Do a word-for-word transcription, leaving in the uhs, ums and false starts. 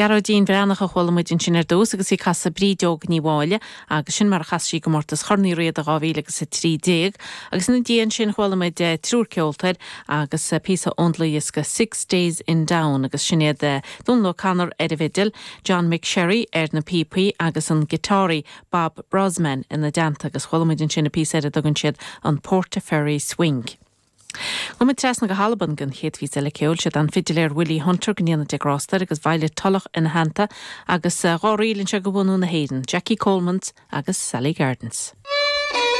Gearóidín Bhreathnach a chuala muid ansin ar dtús agus í ag casadh Brídeog Ní Mháille agus sin mar a chas sí i gcomórtas Chorn Uí Riada dhá mhíle agus a trí déag. Agus ina dhiaidh sin chuala muid triúr ceoltóir agus píosa ón dlúthdhiosca Six Days in Down agus sin iad Dónal O'Connor ar an bhfidil, John McSherry ar na píopaí agus an giotáraí Bob Brozman ina dteannta agus chuala muid ansin an píosa ar a dtugann siad an Portaferry Swing. Gabhfaidh muid trasna go hAlbain don chéad phíosa eile ceoil siad an fidiléir Willie Hunter go ndéana Dia grásta air agus Violet Tulloch ina theannta agus dhá ríl anseo de bhunadh na hÉireann, Jackie Coleman's agus Sally Gardens.